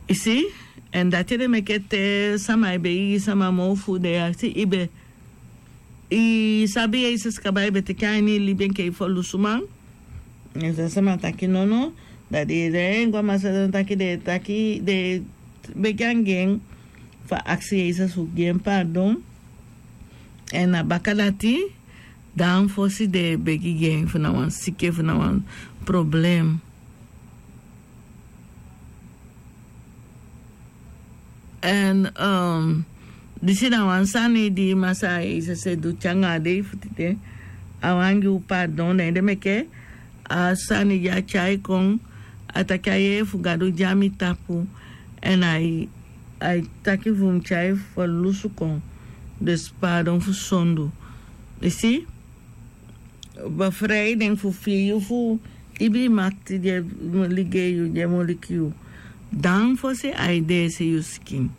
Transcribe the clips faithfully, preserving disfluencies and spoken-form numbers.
I si? Èn dati ede meke te sama e begi gi sama moo fu den e aksi i be i sabi yesus kaba i be teke a ini i libi enke i folusuman. Èn san sama taki nono, da den e de en go a masa den taki den e taki den e begi anga en fu a aksi yesus fu gi en pardon. Èn na baka dati dan fosi den e begi gi en fu na wan siki fu na wan problem. Èn disi na wan sani di masaa yesus e du te anga a dei fu tide. A wan gi u pardon na ede meke a sani di a tyai kon a taki a yee fu gadu di a mi tapu. Èn ai ai taki fu mi tyai fu lusu kon. Dus pardon fu sondu. I si? Befrei den fu fii yu fu ibi makti di e ligei yu di e moliki yu. Dan fosi a e deesi yu sikin.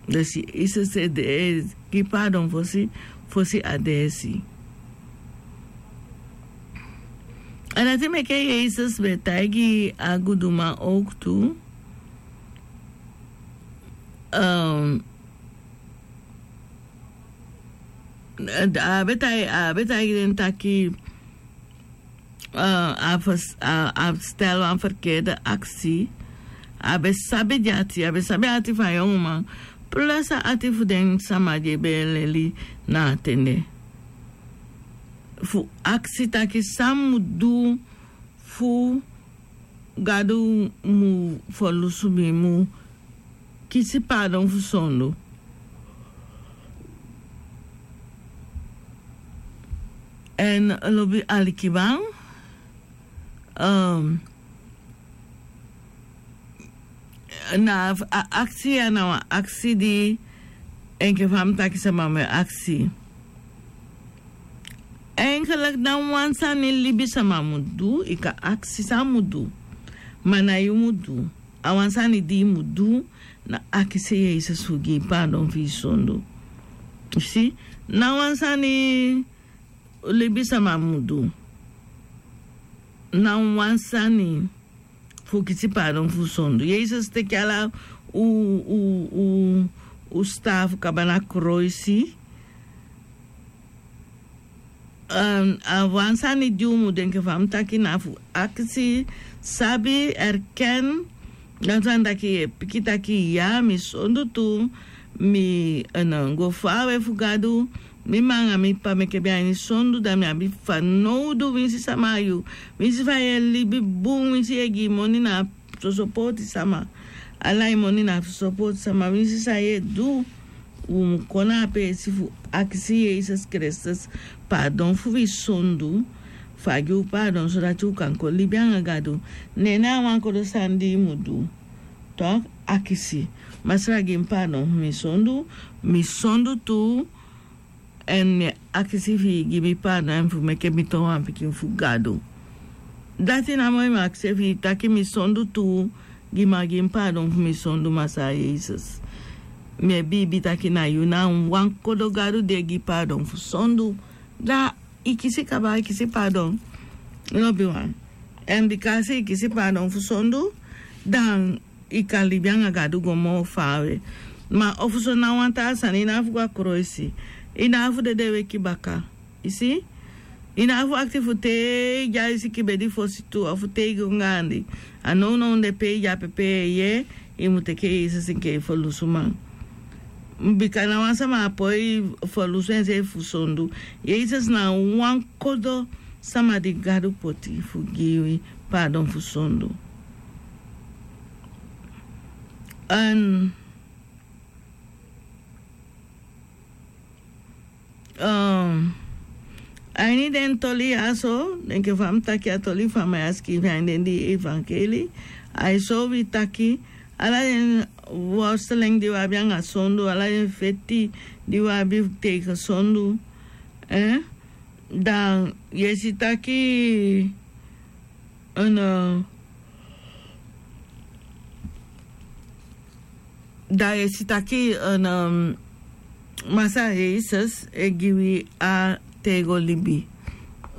Dus yesus e gi pardon fosi fosi a deesi. A dati meke yesus be taigi a guduman owk tu. A be taigi den taki a stel wan ferkerde aksi. A be sabi di ati a be sabi ati fu a yonguman plus a ati fu den sama di e be e leli na a ten de fu aksi taki san mi mu du fu gadu mu ferlusu mi mu kisi pardon fu sondu. Èn lobi alikiban na a aksi ya na wan aksi di enke fa mi taki sama mi e aksi. Enke leki na wan sani libisama mu du i kan aksi san a mu du. Ma na yu mu du a wan sani di i mu du na akisi yesus fu gi i pardon fu i sondu. Si na wan sani libisama mu du na wan sani fu kisi pardon fu sondu yesus teki ala u u u u stafu kaba na kroisi. A wan sani di u mu denki fa mi taki na fu akisi sabi erken. Dan sani taki yu e piki taki ya mi sondu tu mi go faawe fu gadu. Mi mma anga mi p'pa meke ben a ini sondu da mi abi fanowdu winsi sama a yu winsi fa yu e libi bun winsi yu e gi moni na soso pooti sama. Ala yu moni na soso pooti sama winsi san yu e du. U mu kon na a peesi fu akisi yesus kristus pardon fu wi sondu. Fu a gi u pardon so dati u kan kon libi anga gadu. Nene a wan kodo sani di yu mu du. Tok' akisi masra gi mi pardon fu mi sondu. Mi sondu tu. Èn mi e akisi fi i gi mi pardon èn fu meke mi toon wan pikin fu gadu. Dati namo i mu akisi fi i taki mi sondu tuu. Gi mi a gi mi pardon fu mi sondu masaa yesus. Mi e biibi taki na yu na wan kodo gadu di e gi pardon fu sondu. Da i kisi kaba i kisi pardon. Lobi wan èn bika a si i kisi pardon fu sondu dan i kan libi anga gadu go moo faawe. Ma ofuso na wan taa sani i na afu go a kroisi. I na afu dede weki baka i si. I na afu akti fu te i di a i siki bedi fosi tu ofu te i go gaandi. A nownow de pe i di a pepe yeye i mu teke yesus enke i folusuman. Bika na wan sama a poi folusu enseefi fu sondu. Yesus na wan kodo sama di gadu poti fu gi wi pardon fu sondu. An a ini den toli ya so denke fa mi taki a toli fa mi a sikiifi a ini den di evankeli. A e sori wi taki ala den worsteleng di wi abi anga sondu ala den feti di wi abi teige sondu. Dan yu e si taki dan yu e si taki masa yesus e gi wi a tego libi.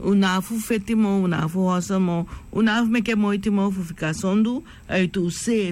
Un na afu feti moo un na afu hoso moo. Un na afu meke moiti moo fu fika sondu a yu tu se.